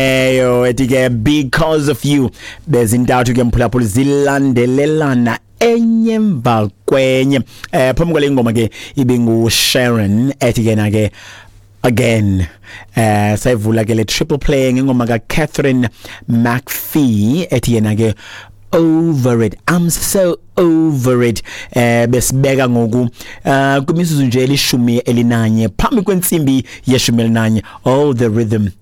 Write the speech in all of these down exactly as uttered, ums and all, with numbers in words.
Eyo ethi ke "Because of You". Bezintathu ke, mphulaphula, zilandelelana enye emva kwenye. eh phambi kwale ngoma ke ibingu Sharon ethi ke na ke "Again". eh sayivula ke le triple play ngengoma ka Catherine McPhee ethi yena ke "Over It", "I'm So Over It". eh besibeka ngoku eh kwimizuzu nje elishumi elinanye phambi kwentsimbi yeshumi elinanye. Oh, the rhythm,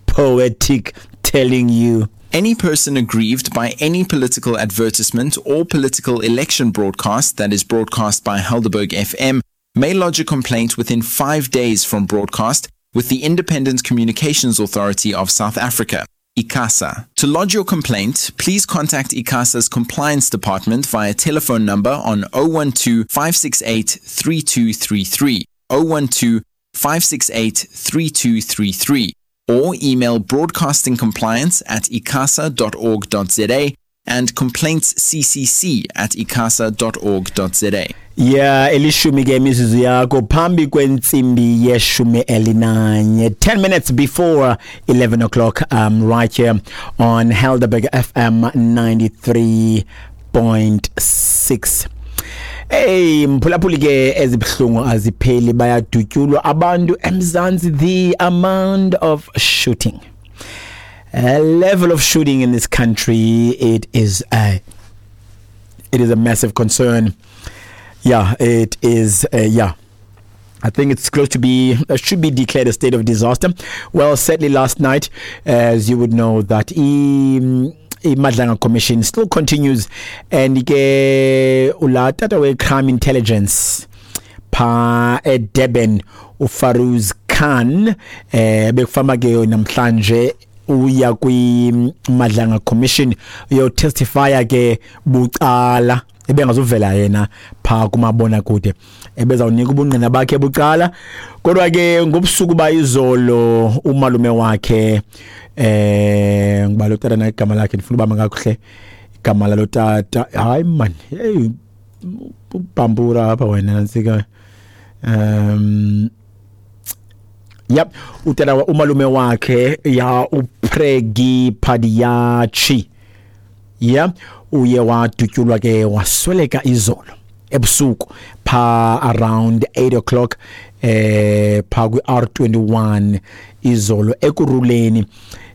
poetic, telling you. Any person aggrieved by any political advertisement or political election broadcast that is broadcast by Helderberg F M may lodge a complaint within five days from broadcast with the Independent Communications Authority of South Africa, ICASA. To lodge your complaint, please contact ICASA's compliance department via telephone number on zero one two five six eight three two three three, zero one two five six eight three two three three, or email broadcastingcompliance at icasa dot org dot za and complaintsccc at icasa dot org dot za. Yeah, elishumi ke imizuzu yakho phambi kwentsimbi yeshumi elinanye, ten minutes before eleven o'clock, um right here on Helderberg F M ninety-three point six. Hey mphulaphuli ke, ezibhlungu azipheli, bayadutyulwa abantu eMzansi. The amount of shooting, a level of shooting in this country, it is a it is a massive concern. Yeah, it is uh, yeah, I think it's close to be uh, should be declared a state of disaster. Well, sadly, last night, as you would know, that i iMadlanga Commission still continues, and ke ula tata we crime intelligence pha eDurban, uFaruz Khan, eh bekufama ke namhlanje uya kwi Madlanga Commission uyo testify ke bucala. Ebengazuvela yena pha kumabona kude, ebezawunika ubungqina bakhe bucala. Kodwa ke ngobusuku bayizolo umalume wakhe, eh ngibalo tata na igama lakhe, ndifuna uba mangakuhle igama lalo tata. Hayi man, hey, ubambura apha wena nansika. um Yep, utata, umalume wakhe ya, uPregi Padiachi, yeah, uye wadutyulwa ke wasweleka izolo ebusuku pha around eight o'clock eh pha kwi R twenty-one izolo Ekurhuleni.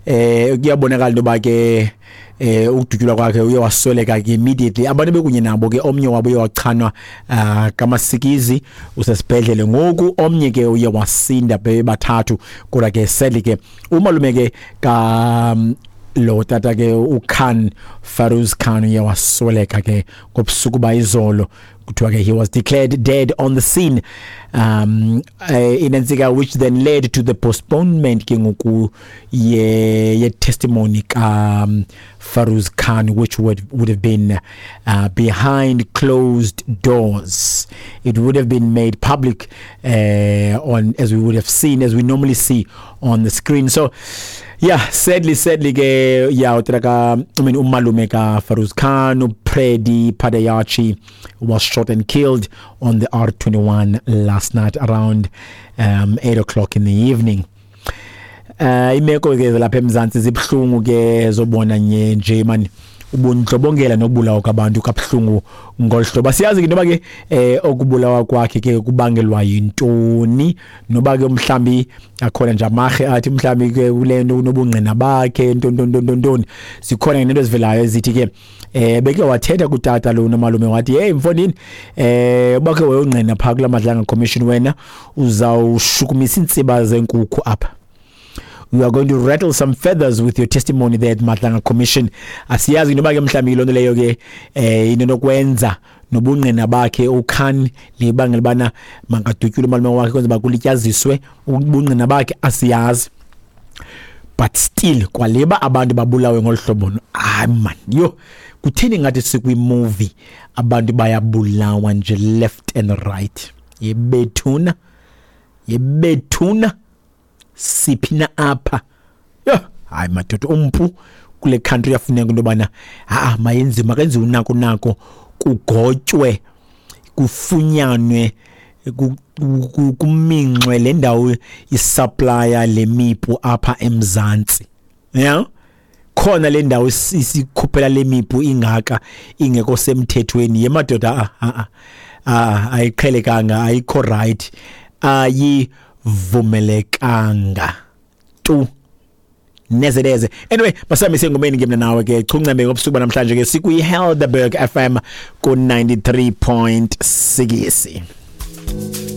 eh kuyabonakala into ba ke eh ukudutyulwa kwakhe uye wasweleka ke immediately. Abantu bekunye nabo ke, omnye wabo uye wachanwa uh, kamasikizi, usesibhedlele ngoku, omnye ke uye wasinda, bebathathu. Kodwa ke sadly ke umalume ke ka lo tata ke uKhan, Faruz Khan, uye wasweleka ke ngobusuku bayizolo. Kuthiwa ke he was declared dead on the scene, um uh, inensika, which then led to the postponement ke ngoku ye, ye testimony ka um, Faruz Khan, which would would have been uh, behind closed doors. It would have been made public uh, on as we would have seen, as we normally see on the screen. So yeah, sadly sadly ke, yeah, utraka, I mean, umalume ka Faruz Khan, uPredi Padayachi, was shot and killed on the R twenty-one last night around um, eight o'clock in the evening. uh imeko ke lapha eMzansi zibhlungu ke, zobona nye nje man ubundlobongela nokubulawa kwabantu kabuhlungu ngolhlobo. Siyazi ke noba ke eh okubulawa kwakhe ke kubangelwa yintoni, noba ke mhlambi akhona nje amahe athi mhlambi ke kulento unobungqina bakhe, ntonto ntonto ntoni. Sikhona nento ezivelayo ezithi ke eh beke wathetha kutata lo nomalume, wathi, "Hey mfondini, eh bakhe wayongqina pha kula Madlanga Commission, wena uzawushukumisa intsiba zenkukhu apha. You are going to rattle some feathers with your testimony there at Madlanga Commission." Asiyazi noba ke mhlawumbi lonto leyo ke eh into nokwenza nobungqina bakhe uKhan libangela bana mangadutyulwe umalume wakhe, kwenza bakulityaziswe ubungqina bakhe, asiyazi. But still kwaleba abantu babulawe ngolhlobo, hayi man, yo, kutheni ngathi sikwi movie? Abantu bayabulawa nje left and right. Yebethuna, yebethuna, siphi na apha? Yho, hayi madoda, umpu kule country yafuneka into yobana ha mayenziwe, makenziwe unako nako, kugotywe, kufunyanwe. Kuminxwe le ndawo isupplier lemipu apha eMzantsi, yeah, khona le ndawo isikhuphela lemipu ingaka ingekho semthethweni yemadoda. A a ayiqhelekanga, ayikho right, ayivumelekanga tu neze neze. Anyway, masamise engomeni ke mna nawe ke chuncembe ngobusuku namhlanje ke sikwi Helderberg F M ku ninety-three point six.